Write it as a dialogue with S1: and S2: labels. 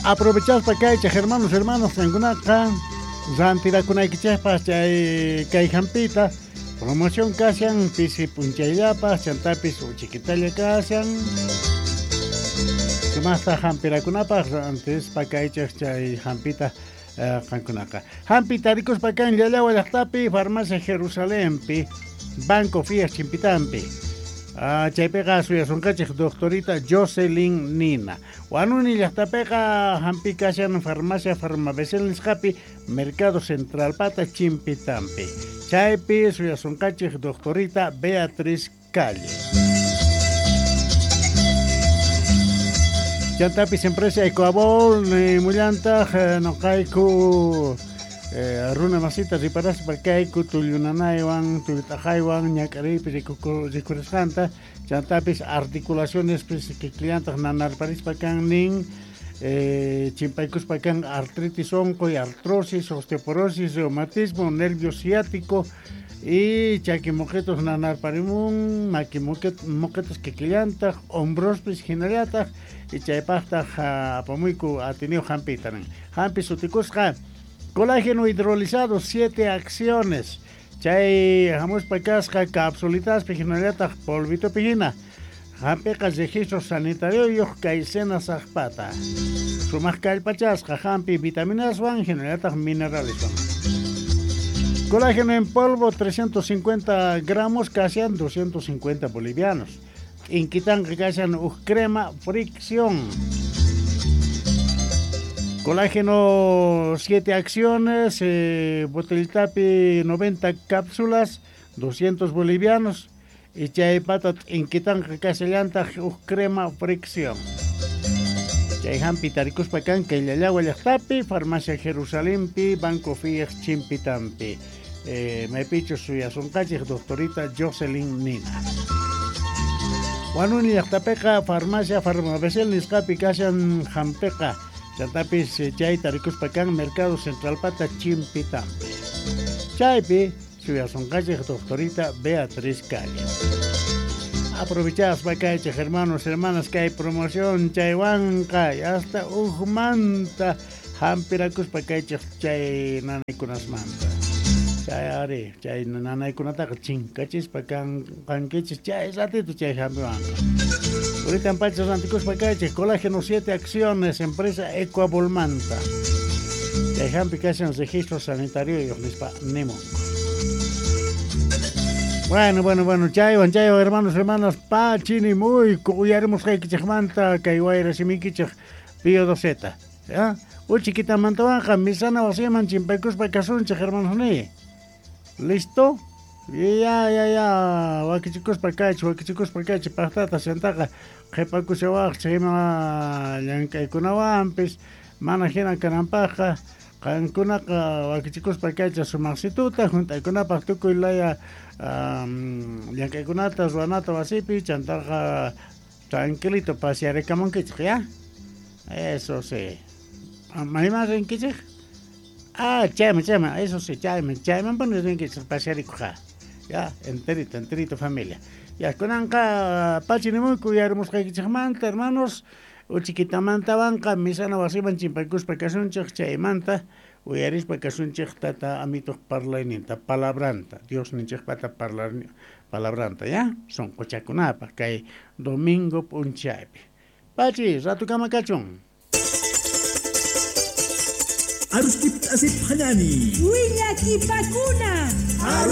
S1: Aprovechaspa kaychik hermanos, hermanas, qankunaqa rantirakunaykichikpaq chay kay hampita promoción kashan pisi p'unchayllapaq chantapis uchikitalla kashan. Sumaqta hampirakunapaq rantispa kaychik chay hampita qankunaqa. Hampi tarikuspa kan Llallawa llaqtapi, Farmacia Jerusalempi, Banco Fias Chimpitampi. Chaypiqa suyasunqachik doctorita Jocelyn Nina. Wanuni llaqtapiqa hampi kashan Farmacia Farmabecel nisqapi, Mercado Central pata Chimpitampi. Chaypi suyasunqachik doctorita Beatriz Calle. Chantapis empresa Ecoabol mullantaq noqayku runa masita riparaspa kayku tullunanaywan tullut'aqaywan ñak'ariypi rikurisqanta chantapis articulaciones kikillantaq nanarparispa kan nin chimpaykuspa kan artritis unquy, artrosis, osteoporosis, reumatismo, nervio ciático y chaki moquetos nanarparimun, maki moquetos kikillantaq, hombrospis hinallataq y chaypaqtaq apamuyku atineo hampita nin. Hampi sutikusqa colágeno hidrolizado, 7 acciones. Chay hamuspa kasqa capsulitaspi hinallataq polvitopi hina. Hampiqa registro sanitario yuq kay saqpata. Sumaq kallpachasqa hampi vitaminaswan hinallataq mineraleswan. Colágeno en polvo 350 gramos kashan 250 bolivianos. Inquitanqa kashan uj crema fricción. Colágeno 7 acciones, botellitapi 90 cápsulas, 200 bolivianos. Y chay pata inquitanqa kashallantaq uj crema fricción. Chay hampi tarikuspa kan kay Llallawa llaqtapi, Farmacia Jerusalempi, Banco Fias Chimpitampi. Maypichu suyasunqachik doctorita Jocelyn Nina. Wanuni llaqtapiqa Farmacia Farmabecel nisqapi kashan hampiqa. Chantapis chay tarikuspa kan Mercado Central pata Chimpitampi. Chaypi suyasunqachik doctorita Beatriz Calle. Aprovechaspa kaychik hermanos, hermanas, kay promoción chaywanqa hasta ujmanta hampirakuspa kaychik chay nanaykunasmanta. Chay ari, chay nanaykunataqa chinkachispa kankichis chay ratito chay hampiwanqa. Ahorita pacha rantikuspa kaychik colágeno 7 acciones, empresa Ecoabolmanta. Chay hampi kashan registro sanitario nispa nimunku. Bueno, chaywan, hermanos, hermanas, pachini muy uyarimusqaykichikmanta kay wayra simikichik Pío Doceta, ¿ya? Uchiquitamantawanqa misana wasiman chimpaykuspa kasunchik, hermanos ni. ¿Listo? Ya, wakichikuspa kaychik, paqtata chantaqa qhipakushawaqchik ima llank'aykunawanpis mana hina kananpaqqa qankunaqa wakichikuspa kaychik sumaqsituta junt'aykunapaq tukuy laya llank'aykunata ruwanata wasipi chantaqa tranquilito pasearikamunkichik, ¿ya? Eso sí. ¿Mayman rinkichik? Ah, chayman, eso sí, chayman puni rinkichik pasearikuqa. Ya, enterito familia. Ya, kunanqa pachinimuyku uyarimusqaykichikmanta, hermanos, uchiquitamantawanqa misana wasiman chimpaykuspa kasunchik chaymanta uyarispa kasunchik tata amituq parlayninta, palabranta, Dios ninchikpata palabranta, ya, sunquchakunapaq kay domingo p'unchaypi. Pachi, ratukama kachun.
S2: Aruskip asip hanani.
S3: Willakipakuna.